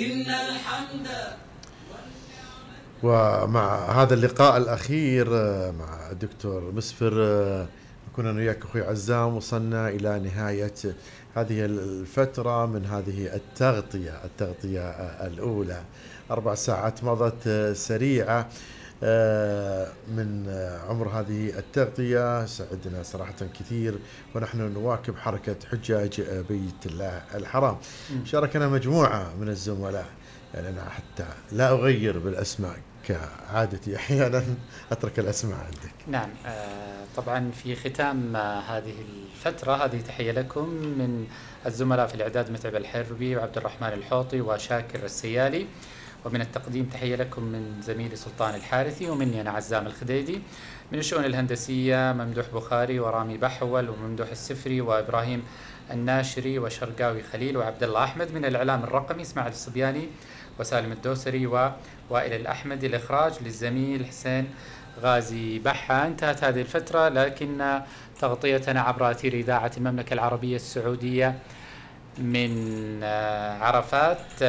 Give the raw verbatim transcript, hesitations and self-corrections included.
إن الحمد. ومع هذا اللقاء الأخير مع الدكتور مسفر كنا وياك أخوي عزام، وصلنا إلى نهاية هذه الفترة من هذه التغطية التغطية الأولى. أربع ساعات مضت سريعة من عمر هذه التغطية. سعدنا صراحة كثير ونحن نواكب حركة حجاج بيت الله الحرام. شاركنا مجموعة من الزملاء، يعني أنا حتى لا أغير بالأسماء كعادتي، أحيانا أترك الأسماء عندك. نعم، آه طبعا في ختام آه هذه الفترة هذه تحية لكم من الزملاء في الإعداد متعب الحربي وعبد الرحمن الحوطي وشاكر السيالي، ومن التقديم تحية لكم من زميلي سلطان الحارثي، ومني أنا عزام الخديدي. من الشؤون الهندسية ممدوح بخاري ورامي بحول وممدوح السفري وإبراهيم الناشري وشرقاوي خليل وعبد الله أحمد. من الإعلام الرقمي إسماعيل الصبياني وسالم الدوسري ووائل الأحمدي. الإخراج للزميل حسين غازي بحة. انتهت هذه الفترة، لكن تغطيتنا عبر أثير إذاعة المملكة العربية السعودية من عرفات